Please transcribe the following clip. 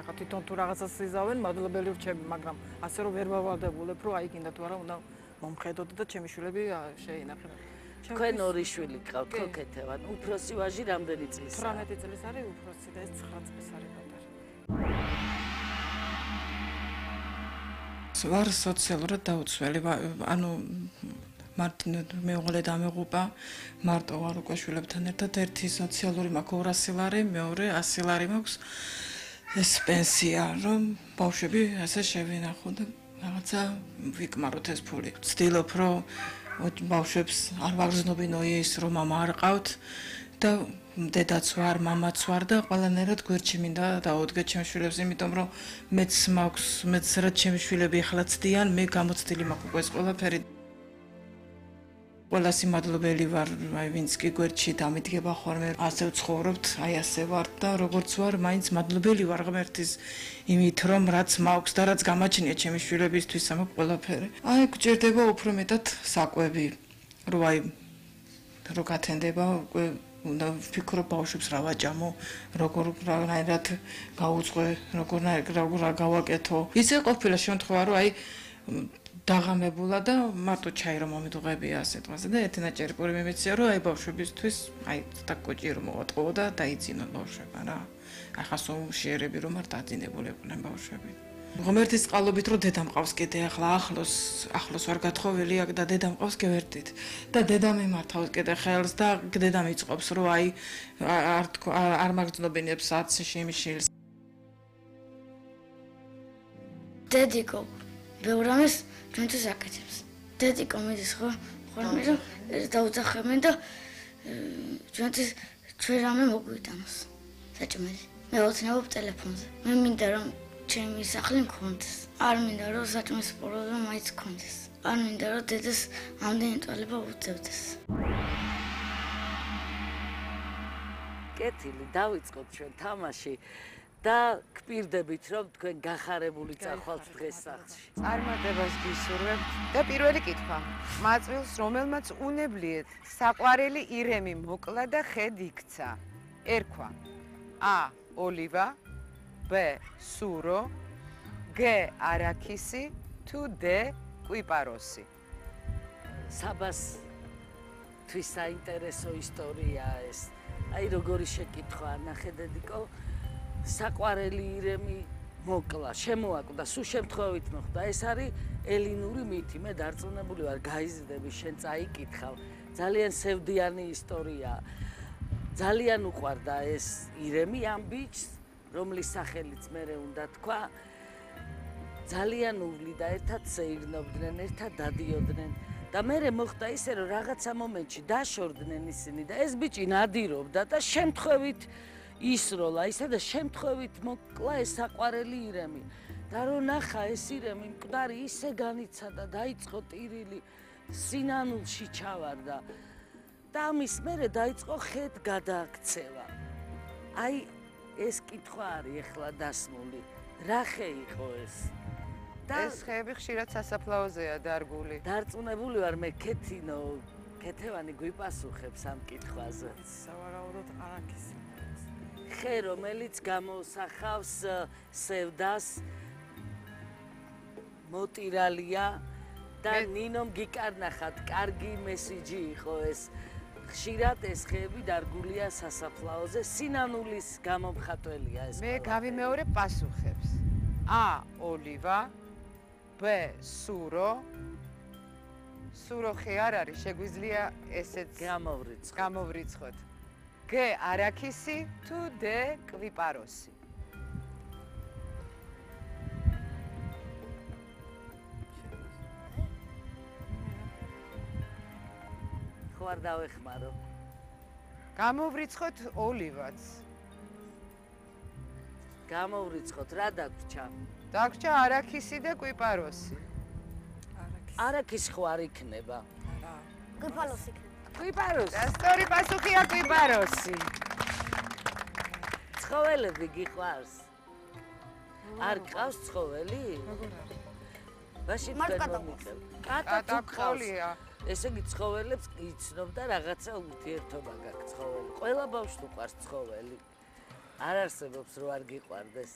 ახლა თვითონ თუ რაღაცას იზავენ, მადლობელი ვრჩები, მაგრამ ასე რომ ვერ ვავალდებულებ, რომ აი გინდა თუ არა უნდა მომხედოთ და ჩემი შვილები შეინახეთ. თქვენ ორი შვილი გყავთ ხო ქეთევან? უფროსი ვაჟი რამდენი წლისაა? 18 წლის არის უფროსი და ეს 9 წლის არის პატარა. ვარ სოციალურად დაუცველი, ანუ მარტინ მეუღლე დამეღუპა, მარტო ვარ უკვე შვილებთან ერთად, ერთი სოციალური მაქვს 200 ლარი, მეორე 100 ლარი მაქვს ეს პენსია, რომ ბავშვები ასე შევინახო და რაღაცა ვიკმაროთ ეს ფული. ვცდილობ, რომ ბავშვებს არ ვაგრძნობინო ის, რომ მამა არ ყავთ და დედაც ვარ, მამაც ვარ და ყველანაირად გვერდში მინდა დაუდგეთ ჩემს შვილებს, იმიტომ რომ მეც რაც ჩემი შვილები ახლა ცდიან, მე გამოცდილი მაქვს უკვე ეს ყველაფერი. ყველას მადლობელი ვარ, აი ვინც კი გვერდში დამიდგება ხოლმე, ასე ვცხოვრობთ, აი ასე ვარ და როგორც ვარ, მაინც მადლობელი ვარ ღმერთის იმით, რომ რაც მაქვს და რაც გამაჩნია ჩემი შვილებისთვის ამაქვს ყველაფერი. აი გჭირდება უფრო მეტად საკვები, რომ აი რო გათენდება უკვე უნდა ვფიქრობ ბავშვებს რა ვაჭამო, როგორნაირად გაუძღვე, როგორ გავაკეთო. ისე ყოფილა შემთხვევა, რომ აი დაღამებულა და მარტო ჩაი რომ მომიდუღებია ასე დღეზე და ერთი ნაჭერი პური მიმეცია რომ აი ბავშვებისთვის აი ცოტა კოჭი რომ მოვატყო და დაიძინო ბავშვება რა. ახლა სულ შეერები რომ არ დაძინებულიყვნენ ბავშვები. ღმერთის წყალობით რომ დედა მყავს კიდე ახლა ახლოს ვარ გათხოვილი აქ და დედა მყავს გევერდით და დედა მიმართავს კიდე ხელს და დედა მიწყობს რომ აი არ მაგრძნობინებს სიმშილს. დედიკო ბევრამეს ჩვენთვის აკეთებს. დედიკო მიდის ხოლმე რომ დაუძახებენ და ჩვენთვის ჩვენ რამე მოგვიტანოს. საჭმელი. მე ვოცნებობ ტელეფონზე. მე მინდა რომ ჩემი სახლი მქონდეს. არ მინდა რომ საჭმლის პრობლემა მაინც მქონდეს. არ მინდა რომ დედას ამდენი ტვალება უწევდეს. კეთილი, დავიწყოთ ჩვენ თამაში. და გპირდებით რომ თქვენ გახარებული წახვალთ დღეს სახლში. წარმატებას გისურვებთ და პირველი კითხვა. მაწვილს რომელმაც უნებლიეთ საყვარელი ირემი მოკლა და ხედ იქცა. ერქვა: A. ოლივა, B. სურო, G. არაქისი, თუ D. კვიპაროსი. საბას თვის საინტერესო ისტორიაა ეს. აი როგორი შეკითხვა, ნახე დედიკო. საყვარელი ირემი მოკლა, შემოაკვდა, სულ შემთხვევით მოხდა. ეს არის ელინური მითი. მე დარწმუნებული ვარ, გაიზრდები, შენ წაიკითხავ. ძალიან სევდიანი ისტორია. ძალიან უყვარდა ეს ირემი ამ ბიჭს, რომლის სახელიც მერე უნდა თქვა. ძალიან უვლი და ერთად სეირნობდნენ, ერთად დადიოდნენ. და მერე მოხდა ისე, რომ რაღაცა მომენტში დაშორდნენ ისინი და ეს ბიჭი ნადირობდა და შემთხვევით ისროლა ისე და შემთხვევით მოკლა ეს საყვარელი ირემი და რომ ნახა ეს ირემი მკვდარი ისე განიცადა დაიწყო ტირილი სინანულში ჩავარდა და ამის მერე დაიწყო ხედ გადააქცევა. აი ეს კითხვა არის ახლა დასმული. რა ხე იყო ეს? ეს ხეები ხშირად სასაფლაოზეა დარგული. დარწმუნებული ვარ მე ქეთევანი გვიპასუხებს ამ კითხვაზე. სავარაუდოდ არაქისი. ხე რომელიც გამოსახავს სევდას მოტირალია და ნინომ გიკარნახათ კარგი მესიჯი იყო ეს. ხშირად ეს ხეები დარგულია სასაფლაოზე, სინანულის გამომხატველია ეს. მე გავიმეორებ პასუხებს. A. ოლივა, B. სურო. სურო ხე არ არის, შეგვიძლია ესეც გამოვრიცხოთ. G. არაქისი, თუ D. კვიპაროსი. ხო არ დავეხმარო. გამოვრიცხოთ ოლივაც. გამოვრიცხოთ, რა დაგვრჩა? დაგვრჩა არაქისი და კვიპაროსი. არაქისი ხო არ იქნება? არა. კვიპაროსი იქნება. კვიპაროსი. სწორი პასუხია კვიპაროსი. ცხოველები გიყვარს? არ გყავს ცხოველი? როგორ არის? ბაში კატა თქვენ კატა ყოლია. ესე იგი ცხოველებს იცნობ და რაღაცა ურთიერთობა გაქვს ცხოველი. ყველა ბავშვს უყვარს ცხოველი. არ არსებობს რო არ გიყვარდეს.